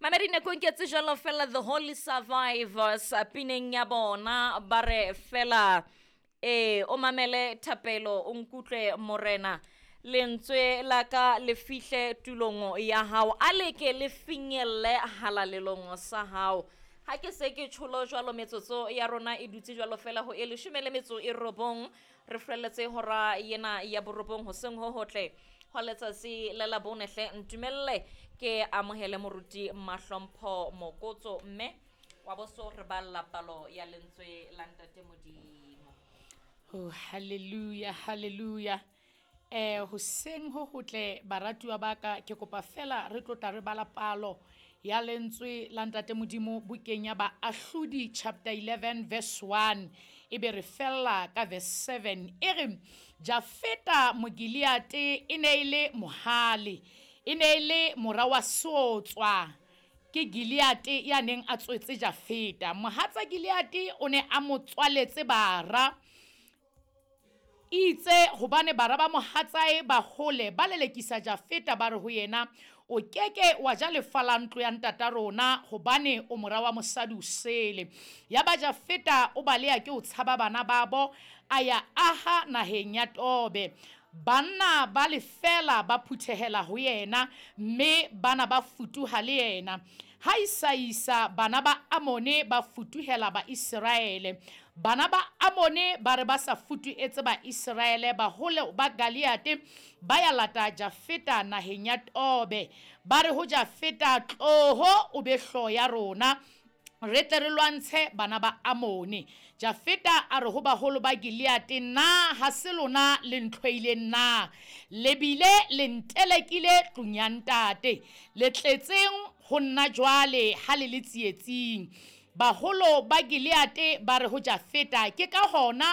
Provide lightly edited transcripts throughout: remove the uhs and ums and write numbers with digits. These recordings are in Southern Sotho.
Mamedi nako nketse jalo fela The Holy Survivors pineng ya bona ba re fela e o mamele thapelo o nkutlwe morena lentswe la ka le fihle tulong ya hao a leke le finyelle halalelong sa hao. Ha ke se ke tsholo jwalo metsotso ya rona e dutse jwalo fela ho e 19 re felletse hora yena ya borobong hoseng ho hotle hwa letsatsi le la bone hle ntumelle ke amohele moruti Mahlompho Mokotso mme wa boso re balla palo ya lentswe la ntate Modimo. Oh, hallelujah, hallelujah. Hoseng ho hotle baratuwa ba ka, ke kopa fela re tlo tla re bala palo ya lentswe la ntate Modimo bukeng ya Baahlodi chapter 11 verse 1 e be re fella ka verse 7. E re Jafeta Mogileate e ne e le mohale, e ne e le mora wa Seotswa ke Gileate ya neng a tswetse Jafeta. Mohatsa Gileate o ne a mo tswaletse bara. Itse hobane bara ba mohatsae ba hole ba lelekisa Jafeta ba re ho yena, o keke wa ja lefa la ntlo ya ntata rona hobane o mora wa mosadi o sele. Ya ba Jafeta o baleha ke o tshaba bana babo, a ya aha naheng ya Tobe. Banna ba lefela ba phuthehela ho yena, mme bana ba futuha le yena. Ha isa bana ba Amone ba futuhela ba Iseraele. Bana ba Amone ba re ba sa futuetse ba Iseraele, baholo ba Galeate ba ya lata Jafeta naheng ya Tobe. Ba re ho Jafeta, tloho o be hlooho ya rona, re tle re lwantshe bana ba Amone. Jafeta a re ho baholo ba Gileate, na ha se lona le ntlhoileng na? Le bile le ntelekile tlung ya ntate. Le tletseng ho nna jwale ha le le tsietsing. Baholo ba Gileate ba re ho Jafeta, ke ka hona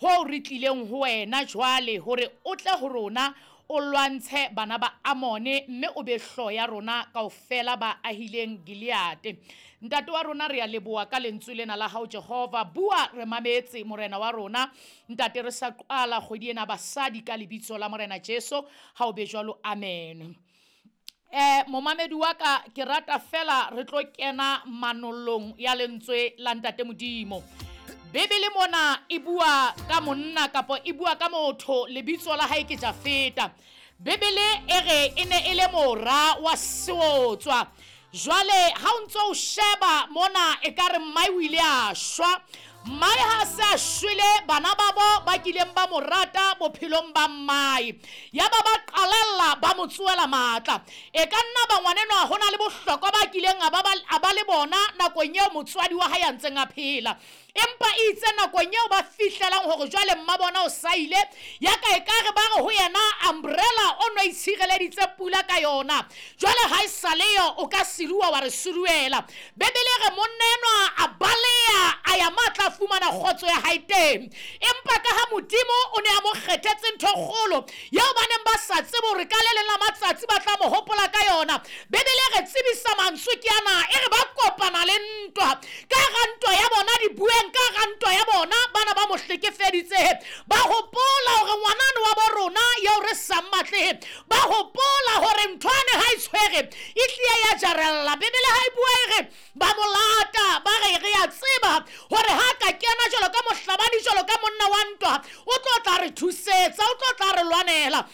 ho re tlileng ho wena jwale hore o tle ho rona o lwantshe bana ba Amone mme o be hlooho ya rona kaofela ba ahileng Gileate. Ntate wa rona re a leboha ka lentswe lena la hao Jehova. Bua re mametse morena wa rona. Ntate re sa qala kgwedi ena basadi ka lebitso la morena Jesu. Ha o be jwalo, amen. Momamedi wa ka, ke rata fela re tlo kena manollong ya lentswe la ntate Modimo. Bibele mona e bua ka monna kapa e bua ka motho, lebitso la hae ke Jafeta. Bibele e re e ne e le mora wa seotswa. Jwale ha o ntso o sheba mona e ka re mmae o ile a shwa. Mmae ha se a shwele, bana babo ba kileng ba mo rata bophelong ba mmae. Ya ba ba qalella ba mo tsoela matla. E ka nna ba ngwanenwa ho na le bohlokwa ba kileng a ba le bona nakong eo motswadi wa hae a ntseng a phela. Empa itse nakong eo ba fihlelang hore jwale mma bona o saile, ya ka e ka re ba re ho yena umbrella o no itshireleditse pula ka yona. Jwale ha e sa leyo o ka siruwa wa re suruela. Bibele re monna enwa a baleha a ya matla fumana kgotso ya hae teng. Empa ka ha Modimo o ne a mo kgethetse ntho kgolo eo ba neng ba sa tsebe hore ka le leng la matsatsi ba tla mo hopola ka yona. Bibele re tsebisa mantswe ke ana, e re ba kopana le ntwa. Ka hara ntwa ya bona dibueng, ka hara ntwa ya bona bana ba mo hlekefeditse. Ba hopola hore ngwanana wa bo rona eo re sa mmatlehe. Ba hopola hore nthwane ha e tshwere e tlile ya jarella. Bibele ha e bua e re ba mo lata, ba re re a tseba hore ha ka kena jwalo ka mohlabani, jwalo ka monna wa ntwa, o tlo tla re thusetsa, o tlo tla re lwanela.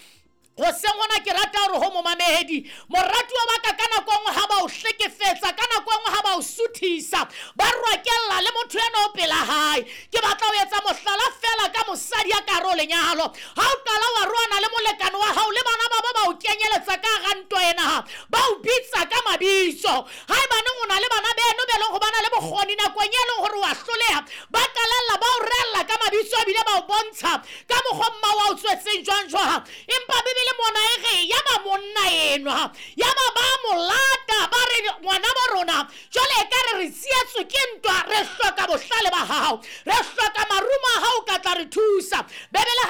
Hoseng hona ke rata hore ho momamedi, moratuwa wa ka, ka nako nngwe ha ba o hlekefetsa, ka nako nngwe ha ba o suthisa, ba rwakella le motho ena o pela hae. Ke batla ho etsa mohlala fela ka mosadi ya ka hare ho lenyalo. Ha o qala wa roana le molekane wa hao le bana ba ba o kenyeletsa ka hara ntwa ena, ba o bitsa ka mabitso. Haebaneng o na le bana beno be leng ho bana le bokgoni nakong e leng hore wa hloleha, ba qalella ba o rella ka mabitso ebile ba o bontsha ka mokgwa mma wa o tswetseng jwang jwang. Empa Bibele mona e re ya ba monna enwa, ya ba ba mo lata, ba re ngwana ba rona jwale e ka re re tsietswe ke ntwa, re hloka bohlale ba hao, re hloka marumo a hao ka tla re thusa. Bibele